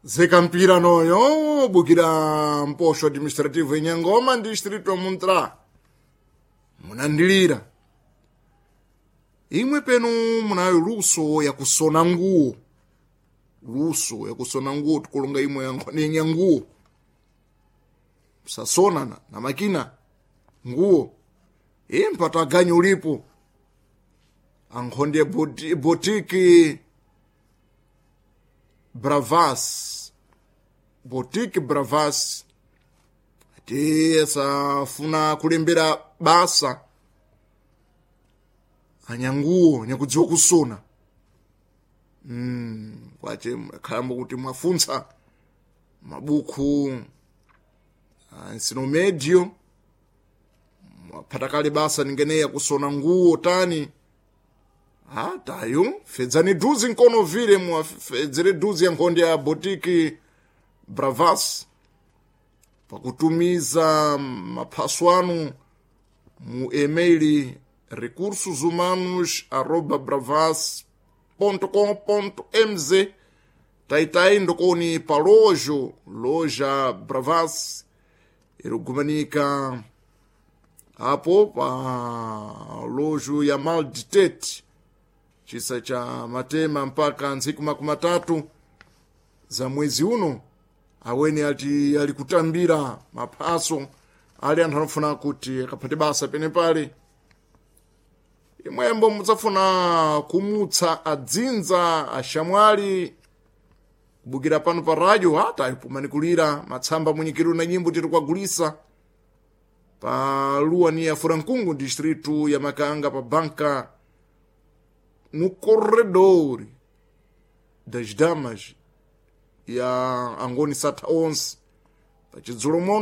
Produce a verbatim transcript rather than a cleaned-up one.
Zekampira noyo bukira mposho administrativo inyangoma distrito Muntra munandilira imwe penu munayo luso ya kusona nguo luso ya kusona nguo tukulonga imwe yangonenya nguo sasona na, na makina nguo impata ganyu ulipo ankhonde boti, botiki Bravas botiki Bravas ati safuna kulembera basa anyanguo nyakudziwa kusona mm, kwache khalambo kuti mwafuntsa mabuku ensino medio mwaphata kale basa ningeneya kusona nguo tani atayo fedzani duzi nkono vile mwafedzere duzi ya nkhonde ya botiki Bravas pakutumiza maphaso anu mu emaili recursos humanos arroba bravas com mz taitai ndokoni pa lojo loja Bravas irigumanika apo pa lojo ya Malditete chisa cha matema mpaka ntsiku makumi matatu za mwezi uno aweni ati alikutambira maphaso ali anthu anofuna kuti akaphate basa penepale imwembo mudzafuna kumutsa adzinza ashamwali kubukira pano pa radio hata ipumanikulira matsamba munyikiru na nyimbo tiri kwagulisa pa lua ni ya Furankungu distritu ya Makanga pa banka no corredor das damas ya Angoni Sata onze pachidzulo mono.